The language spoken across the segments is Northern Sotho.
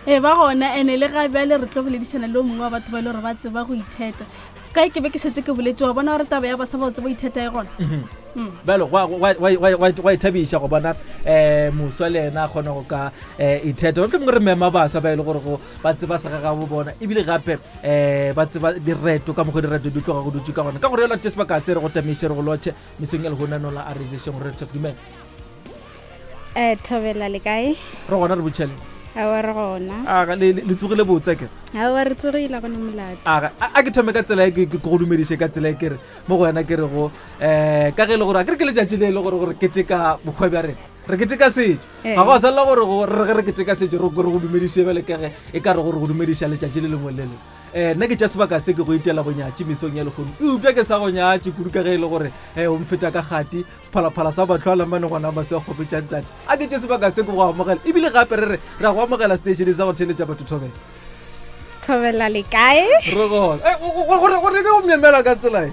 Ee, ba gona ene le ga bjale re tlo boledišana le o mongwe wa batho ba e le gore ba tseba go itheta. Kae ke be ke šetše ke boletše wa bona gore taba ya basa ba go tseba go itheta e gona. Bjalo gwa ithabiša go bona um moswa le ena a kgona go ka um itheta. Mohlomongwe re mema basa ba e le gore go ba tseba segagabo bona ebile gape um ba tseba direto ka mokgwa direto di tloga go dutše ka gona. Ka gore yalo tše sebaka se re go tamiše re go lotšhe mesong ya lehono nola a re ješeng gore re dumela. Eh, thobela le kae? Re gona re botšhele. Aowa re gona. Aga le le tsogile botse ke. Aowa re tsogile go ne molato. Aga a ke thome ka tsela e ke go dumediše ka tsela e ke re mo go wena ke re go eh ka ge e le gore a ke re ke letšatši le e le gore gore keteka bokgwa bja rena. Re keteka setšo. Eh. Ga go a swanela gore go re ge re keteka setšo re re go dumediše bjale ka ge e ka re gore go dumediša letšatši le lengwe le lengwe. Eh, nna ke tša sebaka se ke go itela bonyatši mesong ya lehono eupša ke sa go nyatše kudu ka ge e le gore um o mfeta ka kgati sephalaphala sa batho a lamane gona maswi a kgopetšang tate a ke tše sebaka se ke go amogela ebile gape re re re a go amogela seteišene sa go theeletša batho thobela Thobela le kae? Re gona. Eh, gore gore ke go myemela ka tsela e.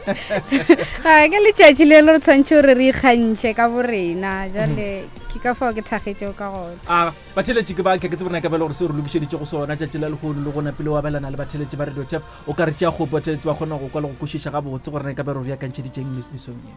A ke letšatši le le re tshwanetse gore re ikgantšhe ka borena jale ke ka fao ke thakgetšego ka gona. A batheletši ke ba ke ke tsebona ka bela gore se re lokišeditše go sona tšatši la lehono le gona pele o abelana le batheletši ba Radio Tef o ka re tšea kgopo batheletši ba kgona go kwa le go kwešiša gabotse gore na e ka be re beakantšheditšeng mesong ye.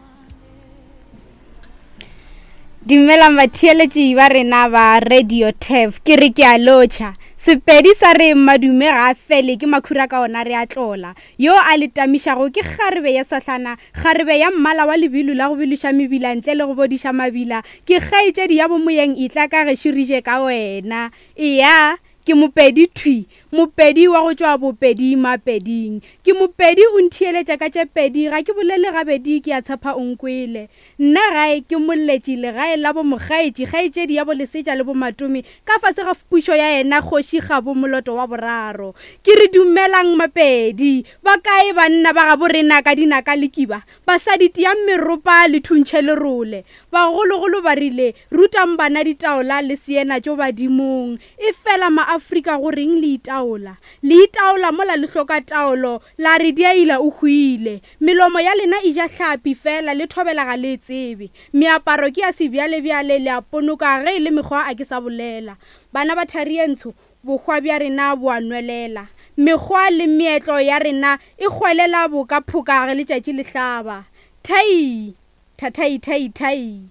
Dumelang batheeletši ba rena ba Radio Tef ke re ke a lotšha. Sepedi sa re madume ga a fele ke makhura ka ona re a tlola. Yo a le tamišago ke kgarebe ya sahlana, kgarebe ya mmala wa lebilu la go biloša mebila ntle le go bodiša mabila. Ke kgaetšedi ya bomoyeng etla ka gešo re je ka wena. Eya, ke Mopedi thwi, Mopedi wa go tšwa Bopedi Mapeding. Ke Mopedi o ntheeletša ka tše pedi, ga ke bolele gabedi ke a tshepa o nkwele. Nna gae ke Molletši legae la bo Mokgaetši, kgaetšedi ya bo Lesetša le bo Matome, ka fase ga pušo ya yena Kgoši Kgabo Moloto wa boraro. Ke re dumelang Mapedi! Ba kae banna ba gabo rena ka dinaka le kiba? Basadi tiang meropa le thuntšhe lerole. Bagologolo ba rile, Rutang bana ditaola le seena tšo badimong. Efela Maafrika go reng le itaola? Le itaola mola le hloka taolo, la re diaila o hwile. Melomo ya lena e ja hlapi fela le thobela ga le e tsebe. Meaparo ke ya sebjalebjale le a ponoka ge e le mekgwa a ke sa bolela. Bana ba thari ye ntsho, bohwa bja rena bo a nwelela. Mekgwa le meetlo ya rena e hwelela boka phoka ge letšatši le hlaba. Thai! Thathaithaithai!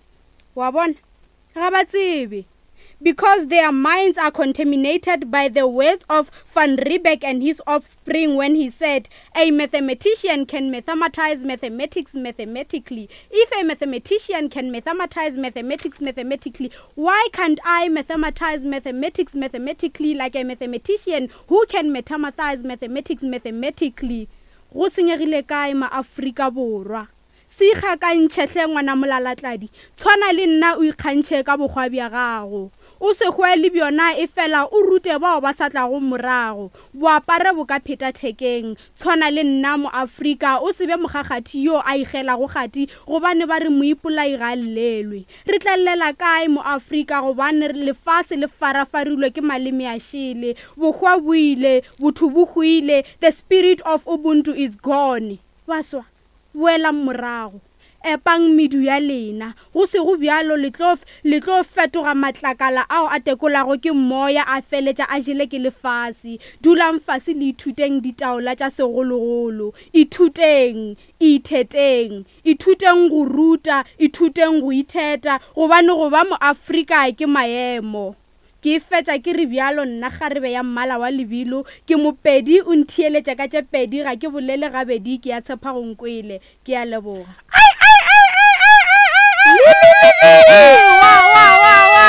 Wa bona? Ga ba tsebe. Because their minds are contaminated by the words of Van Riebeeck and his offspring when he said, A mathematician can mathematize mathematics mathematically. If a mathematician can mathematize mathematics mathematically, why can't I mathematize mathematics mathematically like a mathematician who can mathematize mathematics mathematically? Go senyegile kae ma-Afrika Borwa? Se ikgakantšhe hle ngwana molalatladi, tshwana le nna o ikgantšhe ka bokgwa bja gago. O se hwe le bjona efela o rute bao ba sa tlago morago. Bo apare bo ka pheta thekeng. Tshwana le nna Moafrika o se be mokgakgathi yo a ikgelago kgati gobane ba re moipolai ga a llelwe. Re tla llela kae Moafrika gobane lefase le farafarilwe ke maleme a šele. Bohwa bo ile, botho bo hwile, the spirit of Ubuntu is gone. Baswa. Boelang morago. Epang medu ya lena. Go sego bjalo le tlo, le tlo fetoga matlakala ao a tekolago ke moya a feletša a jele ke lefase. Dulang fase le ithuteng ditaola tša segologolo. Ithuteng. Itheteng. Ithuteng go ruta, ithuteng go itheta, gobane go ba Moafrika ke maemo. Ke fetša ke re bjalo nna kgarebe ya mmala wa lebilo, ke Mopedi o ntheeletša ka tše pedi ga ke bolele gabedi ke a tshepa go nkwele. Ke a leboga. Ai ai ai ai ai ai ai ai wa wa wa wa.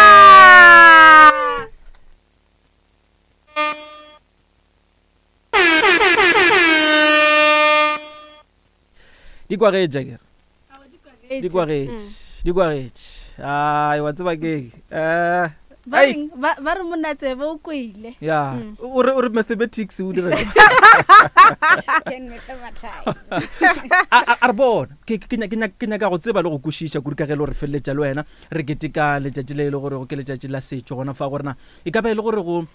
Di kwagetše akere? Di kwagetše. Di kwagetše. Ai wa tseba ke eh Ba reng? Ba ba re monna tsebe o kwele. Ya, o re o re mathematics o dira. Can mathematize. A a- a re bona ke ke ke nyaka ke nyaka go tseba le go kwešiša kudu ka ge e le gore feleletša le wena re keteka letšatši le e le gore ke letšatši la setšo gona fa gore na e ka ba e le gore go um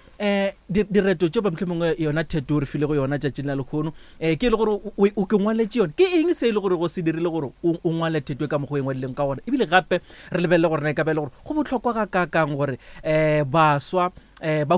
direto tšeo ba mohlomongwe yona theto o re filego yona tšatšing la lekgono um ke e le gore o ke ngwaletše yone ke eng se e le gore go se dirile gore o ngwale theto e ka mokgwa o e ngwadileng ka gona ebile gape re lebelele gore na e ka ba e le gore go bohlokwa ga kakang gore um baswa um ba.